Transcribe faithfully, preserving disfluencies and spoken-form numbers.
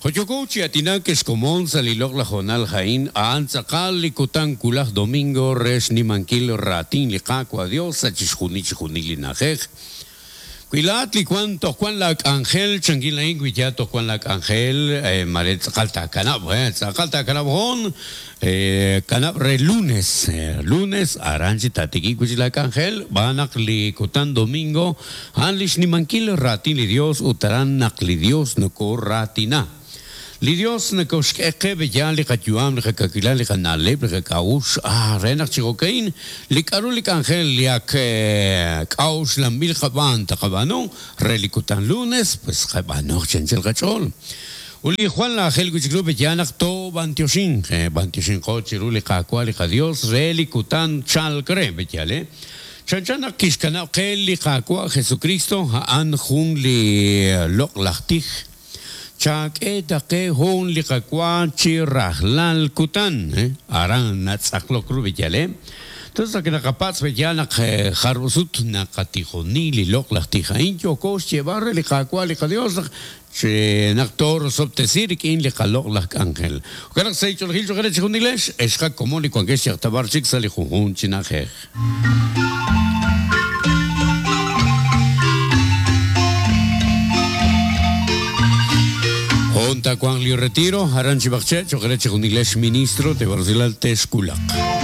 Joyoko chi atinak xkomon sa' li loq'laj hoonal ha'in, a'an tz'aqal li kutan wulaj domingo re xnimankil raatin li Qaawa' Dios sa' chixjunil chixjunil li na'ajej. Wi laa'at li wan toj wan la k'anjel, chankil a'in wi ya toj wan la k'anjel, eh, mare tz'aqal taakanab', eh, tz'aqal taakanab' hoon, eh, kanab' re lunes, eh, lunes aran chi tatikik wi chi la k'anjel, b'anaq li kutan domingo, a'an li xnimankil raatin li Dios ut aran naq li Dios nokoraatina. Li Dios nakoxk'e qe ya li qayu'am, li qakakilal, li qana'leb', li qak'a'uxl, ah, re naq chi jo'ka'in, li k'aru li k'anjel li ak eh, k'a'uxlanb'il qab'aan taqab'aanu, re li kutan lunes, pues qab'aanu chanchal qach'ool. Uli Juan la ajel wi' chik ru ya naq to b'antioxin, eh, b'antioxin qo chiru li Qaawa' li qaDios re li kutan chalk re, b'eyal, eh. Chanchan naq kixkanab' qe li Qaawa' Jesucristo a'an jun li loq'laj tij. Chak'e taqe jun li qawa chi rajlal kutan, eh? Aran natz'aqlok ru b'eyal, eh? Entonces, naq naqapatz' b'eyal naq eh, jarusut naqatijoni li loq'laj tij a'in yoko xyeeb'al re li Qaawa' li qaDios naq che naq torosob'tesi rik'in li qaloq'laj k'anjel. Jo'kan naq sa' ich'olojil cho'q re chixjunilex, ex qakomon li wankex yaqtabar chik sa' li junjun chi na'ajej. Honta Juan li retiro, aran chi b'aqche, cho'q re chixjunilex ministro te Barcelona Texculaq.